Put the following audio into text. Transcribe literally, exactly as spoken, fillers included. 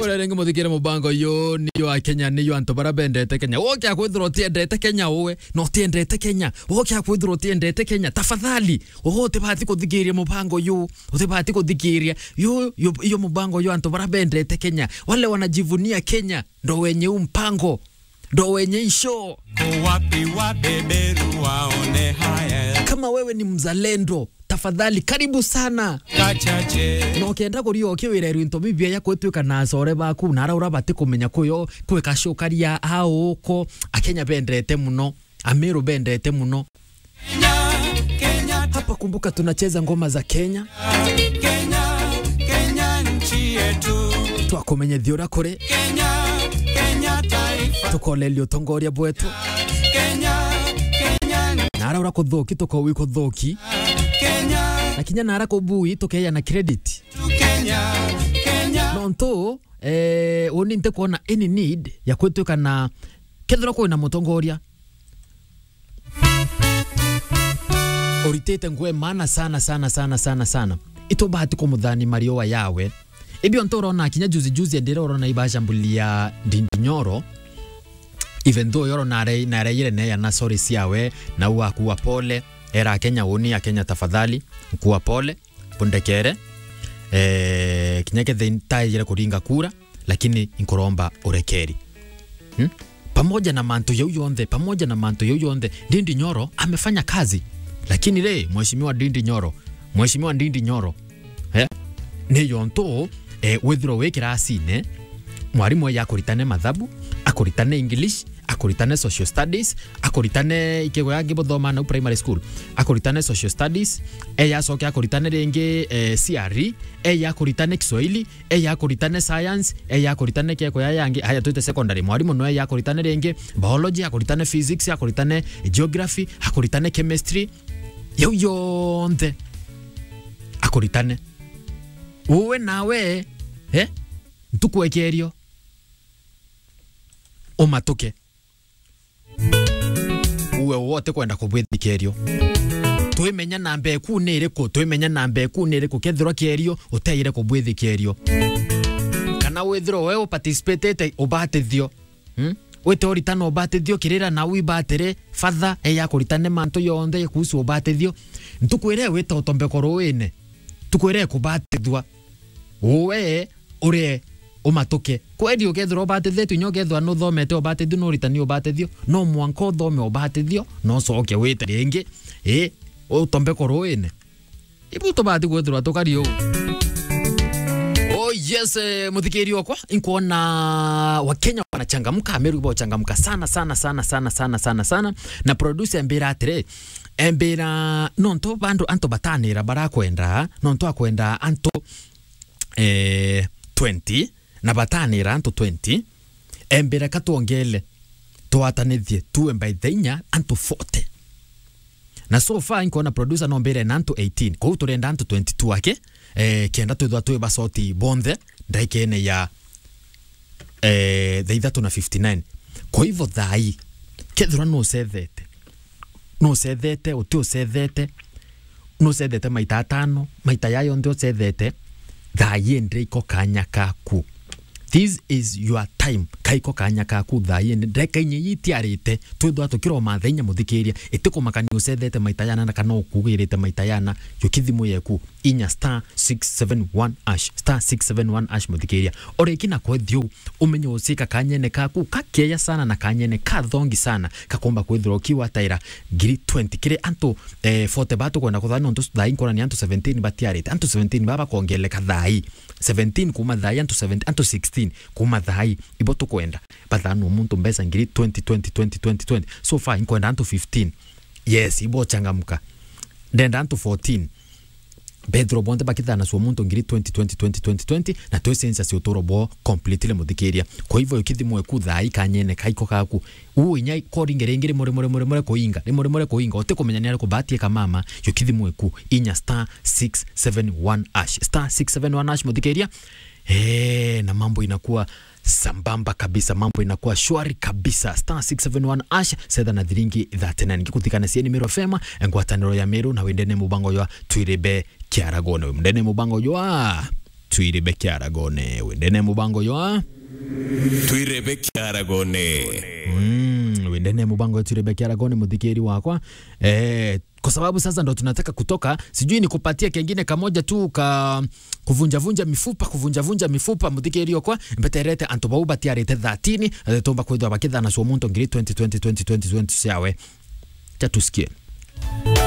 Uria ringi muthikire mubango uyu ni yo a Kenya, ni yo antu bara bendete Kenya. Woke akwithirwa utiendete Kenya uwe, na utiendete Kenya. Woke akwithirwa utiendete Kenya. Tafadhali, uwe utibati kuthikiria mubango uyu. Utibati kuthikiria. Yo, yo, yo mubango uyu antu bara bendete Kenya. Wale wanajivunia Kenya, ndo wenye huu mpango. Ndo wenye hii show. Ko wapi wabeberu waone haya? Kama wewe ni mzalendo, tafadhali, karibu sana. Kachache. Na ukienda kuria ukiwira irwinto bibia ya kwitwika na acore baku, na ara ura bati kumenya kuyo, kwika show karia auko, Akenya bendete muno, Ameru bendete muno. Kenya, Kenya. Hapa kumbuka tunacheza ngoma za Kenya. Kenya, Kenya nchi yetu. Twakumenyethia uria kuri. Kenya, Kenya taifa. Tukolelia utongoria bwetu. Kenya, Kenya. Na ara ura kuthuki, tukowi kuthuki. Kenya. Na kinya na ara kubui, tukeya na credit. Kenya, Kenya. Nontu, eh, uni ntikwona any need ya kwitwika na kethira kwina mutongoria uritite nguo e maana sana, sana, sana, sana, sana. Itubati kumuthani marioa yawe. Ibio ntu urona kinya juzi juzi endire urona ibashambulia Ndindi Nyoro. Even though yoro nare-, nareire neya na sorry ciawe, na uu akua pole. Era Akenya uni, Akenya tafadhali, nkua pole, bundekere. Eh, kinya kethe ntaijire kuringa kura, lakini nkuromba urekeri. Hmm? Pamoja na mantu yau yonthe, pamoja na mantu yau yonthe, Ndindi Nyoro amefanya kazi. Lakini ri, Mheshimiwa Ndindi Nyoro, Mheshimiwa Ndindi Nyoro, eh, ni yontu, eh, withirwa wi kirasine, mwarimu eya akuritane mathabu, akuritane English, akuritane social studies, akuritane ikego yangi buthoma nau primary school, akuritane social studies, eya acoke akuritane ringi, eh, C R E, eya akuritane Kiswahili, eya akuritane science, eya akuritane keko ya yangi, haya twite secondary, mwarimu no eya akuritane ringi biology, akuritane physics, akuritane geography, akuritane chemistry, yau yonthe akuritane. Uwe nawe, eh? Ntuku ekerio, umatuke. Uwe wote kwenda kubwithikerio. Twimenya namba eku ni iriku, twimenya namba eku ni iriku, kethirwa kierio, uteire kubwithikerio. Kana withirwa we uparticipatete ubatithio. Hmm? Wite uritana ubatithio kirira na wibatire, father, eya kuritane mantu yonthe kuhusu ubatithio. Ntuku iria wita utombeko ruine, ntuku iria ekubatithua, uwe urie umatuke. Kweri ukethirwa ubatithitue, inya ukethirwa nuthomete ubatithio, nuritani ubatithio, no mwanka uthome ubatithio, na ucoke wite ringi, ii, utombeko ruine. Ibu tubati kwithirwa tukari uu. Oh yes, eh, muthikiri okwa, inkwona Wakenya wanachangamka, Ameru bochangamka sana, sana, sana, sana, sana, sana, sana. Na producer embira atiri, embira, nontu bandu antu batanira barakwenda, nontu akwenda antu, eh, twenty, na batanira antu twenty, embira ka twongele, twatanithie, tuwe by the inya antu forty. Na so far, inkwona producer nombire na antu eighteen. Kou turenda antu twenty-two ake, eh, kenda twithwa twi basoti bonthe, ndaikene ya, eh, thaa ithatu na fifty-nine. Kwa hivyo thaa ii, kethirwa nucethete, nucethete, uti ucethete, nucethete maita atano, maita ya yonthe ucethete, thaa ii ndi iko kanya kaku. This is your time. Kaiko kanya kaku thaa ii ndi. Ndeka inya ii itiarite, twithwa tukiroma thaa inya muthikiria. Itikumakania ucethete maita yana na kana ukugirite maita yana, yukithimu yeku, inya star six seven one hash, star six seven one hash muthikiria. Oreki na kwethio, umenye ucika kanyene kaku kakeya sana na kanyene kathongi sana, kakomba kwithirwa ukiwa taira ngiri twenty kiri antu, eh, forty ba tukwenda kuthana, nontu thaa ii nkwona ni antu seventeen batiarite. Antu seventeen baba bakongeleka thaa ii. Seventeen kuma thaa ii, antu seventeen, antu sixteen kuma thaa ii. Ibo tukwenda. Bathanwa muntu mbeca ngiri twenty, twenty, twenty, twenty, twenty. So far, inkwenda antu fifteen. Yes, ibo changamka. Ndenda antu fourteen. Bethirwa bonthe bakithanacua muntu ngiri twenty, twenty, twenty, twenty, twenty, na twi census uturo bwao completely muthikiria. Kwa hivyo, yukithimwe ku thaa ii kanyene kaiko kaku. Uu inya koringe ringi rimwe, rimwe, rimwe, rimwe kuinga, rimwe, rimwe kuinga, utikumenya ni ariku batie kamama, yukithimwe ku, inya star six seven one hash, star six seven one hash muthikiria. Eh, na mambo inakuwa sambamba kabisa, mambo inakuwa shwari kabisa. Star six seven one hash, setha na thiringi thirty-nine. Ngikuthikana cia ni Meru F M, ngwataniro ya Meru, na wendene mubango jwa Twiribe Kiaragone. Wendene mubango jwa Twirebe Kiaragone. Wendene mubango yo? Twirebe Kiaragone. Mm, wendene mubango Twirebe Kiaragone, muthikiri wakwa. Eh, kwa sababu sasa ndo tunataka kutoka, sijui nikupatie kengine kamoja tu ka kuvunja vunja mifupa, kuvunja vunja mifupa, muthikiri okwa, mbeterete antu bau batiarite thirteen, eh, tumba kwithwa bakithana cio muntu ngiri twenty twenty twenty twenty twenty ciawe. Cha tusikie.